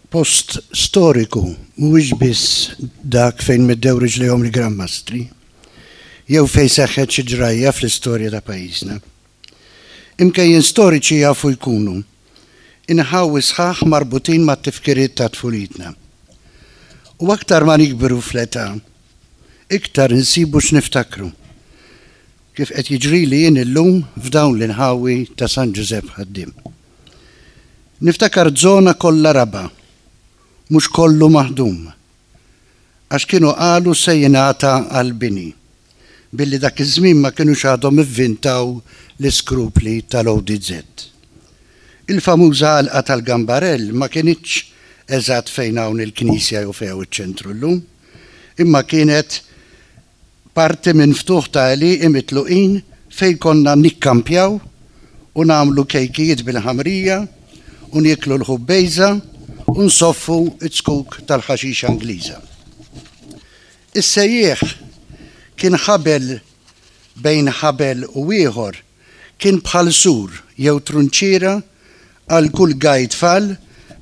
Post storiku mhuwiex biss dak fejn meddew riġlejhom il-Gran Mastri, jew fejn seħħet xi ġrajja fl-istorja ta' pajjiżna. Imkejjen storiċi jafu jkunu inħawi sħaħ marbutin mat-tifkiriet ta' tfulitna. U aktar ma nikbru fl-età, iktar insibu x'niftakru, kif qed jiġrili jien illum f'dawn l-inħawi ta' San Ġużepp Ħaddiem. Niftakar żona kollha raba', mhux kollu maħdum, għax kienu qalu se jingħata għall-bini, billi dak iż-żmien ma kinux għadhom ivvintaw l-iskrupli tal-ODZ. Il-famuża għalqa tal-Gambarell ma kinitx eżatt fejn hawn il-knisja jew fejn hawn iċ-ċentru llum, imma kienet Parti minn ftuħ ta' għelieqi mitluqin fejn konna nikkampjaw u nagħmlu kejkijiet bil-ħamrija u nieklu l-ħubbejża u nsoffu z-zkuk tal-ħaxixa Ingliża. Is-sejjieħ kien ħabel bejn ħabel u ieħor kien bħal sur jew trunċiera għal kull gaj tfal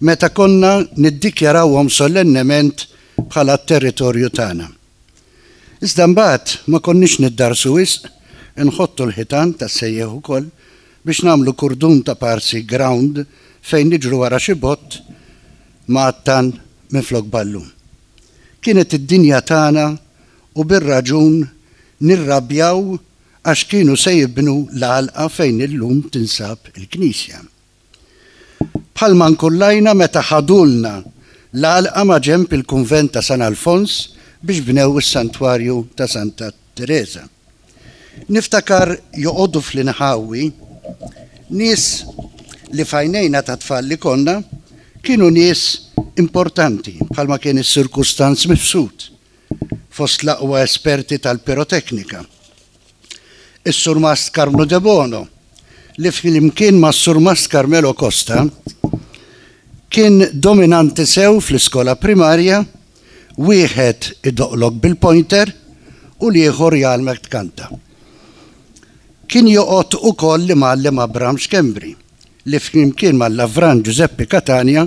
meta konna niddikjarawhom solennement bħala t-territorju tagħna. Iżda mbagħad ma konniex niddarsu wisq, inħottu l-ħitan tas-sejjieħ ukoll biex nagħmlu kurdun ta' parsi ground fejn niġru wara xi bott mgħattan minflok ballun. Kienet id-dinja tagħna u bir-raġun nirrabjaw għax kienu se jibnu l-għalqa fejn illum tinsab il-knisja. Bħalma nkullajna meta ħadulna l-għalqa maġenb il-kunvent ta' San Alfons biex bnew is-santwarju ta' Santa Tereża. Niftakar joqogħdu fl-inħawi nies li f'għajnejna ta' tfal li konna kienu nies importanti bħalma kien is-Sur Kustanz Mifsud, fost l-aqwa esperti tal-piroteknika. Is-Surmast Karmnu Debono, li flimkien mas-Surmast Carmelo Costa kien dominanti sew fl-iskola primarja, wieħed idoqqlok bil-pointer u l-ieħor jgħallmek tkanta. Kien joqgħod ukoll l-imgħallem Abram Schembri, li flimkien mal-Lavran Ġużeppi Catania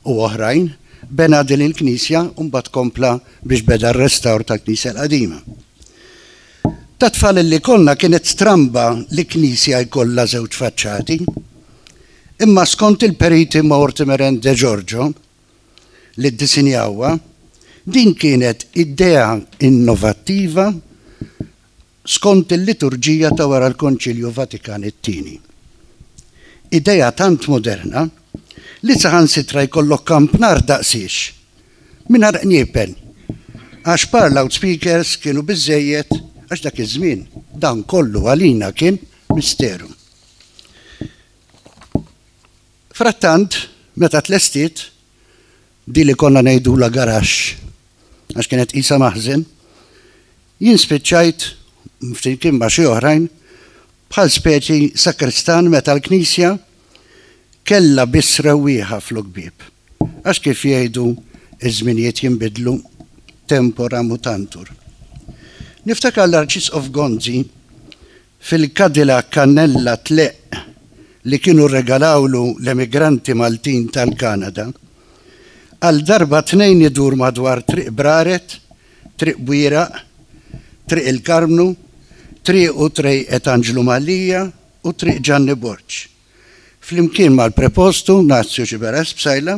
u oħrajn bena din il-knisja u mbagħad kompla biex beda r-restawr tal-knisja l-qadima. Ta' tfal li konna kienet stramba li knisja jkollha żewġ faċċati. Imma skont il-periti Mortimer and De Giorgio li ddisinjawha, din kienet idea innovattiva skont il-liturġija ta' wara l-Konċilju Vatikan it-Tieni. Idea tant moderna li saħansitra jkollok kampnar daqsiex, mingħajr qniepen, għax par loudspeakers kienu biżżejjed għax dak iż-żmien dan kollu għalina kien misteru. Frattant, meta tlestiet, di li konna ngħidulha garaxx, għax kienet qisha maħżen, jien spiċċajt, flimkien ma' xi oħrajn, bħal speċi sakristan meta l-knisja kellha biss rewwieħa flok bieb. Għax kif jgħidu iż-żminijiet jinbidlu, tempora mutantur. Niftakar l-Arċisqof Gonzi Fil-Cadillac kannella tleqq li kienu rregalawlu l-emigranti Maltin tal-Kanada, għal darba tnejn idur madwar Triq Braret, Triq Bwieraq, Triq il-Karmnu, Triq u Trejqet Anġlu Mallia u Triq Ġanni Borg. Flimkien mal-Prepostu Nazju Xiberras Psaila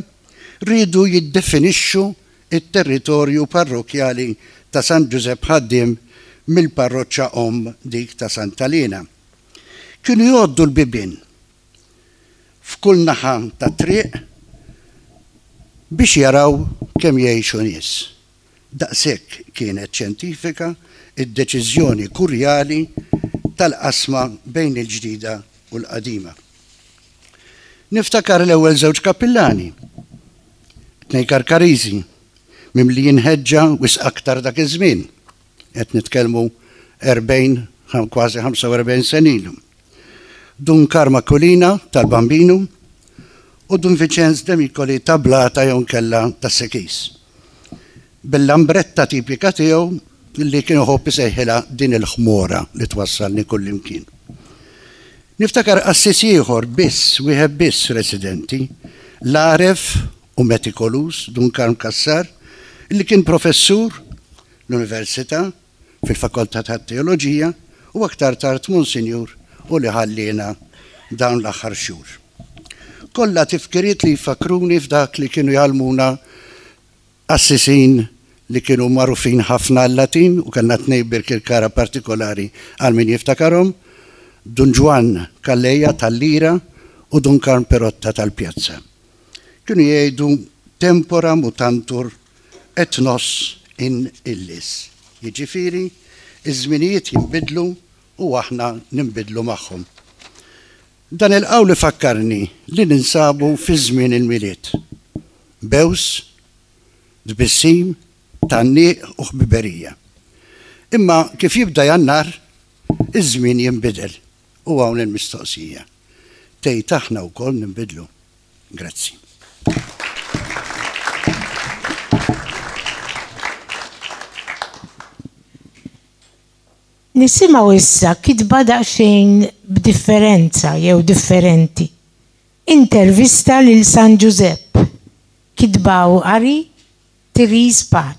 riedu jiddefinixxu t-territorju parrokkjali ta' San Ġużepp Ħaddiem mill-parroċċa omm dik ta' Santa Liena. Kienu jgħoddu l-bibien f'kull naħa tat-triq biex jaraw kemm jgħixu nies. Daqshekk kienet xjentifika d-deċiżjoni kurjali tal-qasma bejn il-ġdida u l-qadima. Niftakar l-ewwel żewġ kappillani, tnejn Karkariżi, mimlijin ħeġġa wisq aktar dak iż-żmien, qed nitkellmu 40, kważi 45 sena ilu. Dun Karm Aquilina tal-Bambinu u Dun Viċenz Demicoli ta' Blata jew inkella tas-Sekis. Bil-lambretta tipika tiegħu li kien iħobb isejħilha din il-ħmora li twassalni kullimkien. Niftakar qassis ieħor biss, wieħed biss residenti, l-għaref u metikoluż, Dun Karm Cassar, li kien professur l-Università fil-Fakoltà tat-Teoloġija u aktar tard Monsinjur u li ħalliena dawn l-aħħar xhur. Kollha tifkiriet li jfakkruni f'dak li kienu jgħallmuna qassisin li kienu magħrufin ħafna għal-Latin u kellna tnejn Birkirkara partikolari għal min jiftakarhom, Dun Ġwann Calleja tal-Lira u Dun Karm Perotta tal-Pjazza. Kienu jgħidu tempora mutantur et nos in illis. Jiġifieri, iż-żminijiet jinbidlu u aħna ninbidlu magħhom. Dan il-qawl ifakkarni li ninsabu fi żmien il-Milied. Bews, tbissim, tgħanniq u ħbiberija. Imma kif jibda Jannar, iż-żmien jinbidel u hawn il-mistoqsija. Tgħid aħna wkoll ninbidlu? Grazzi. Nisimgħu issa kitba daqsxejn b'differenza jew differenti. Intervista lil San Ġużepp. Kitba u qari, Therese Pace.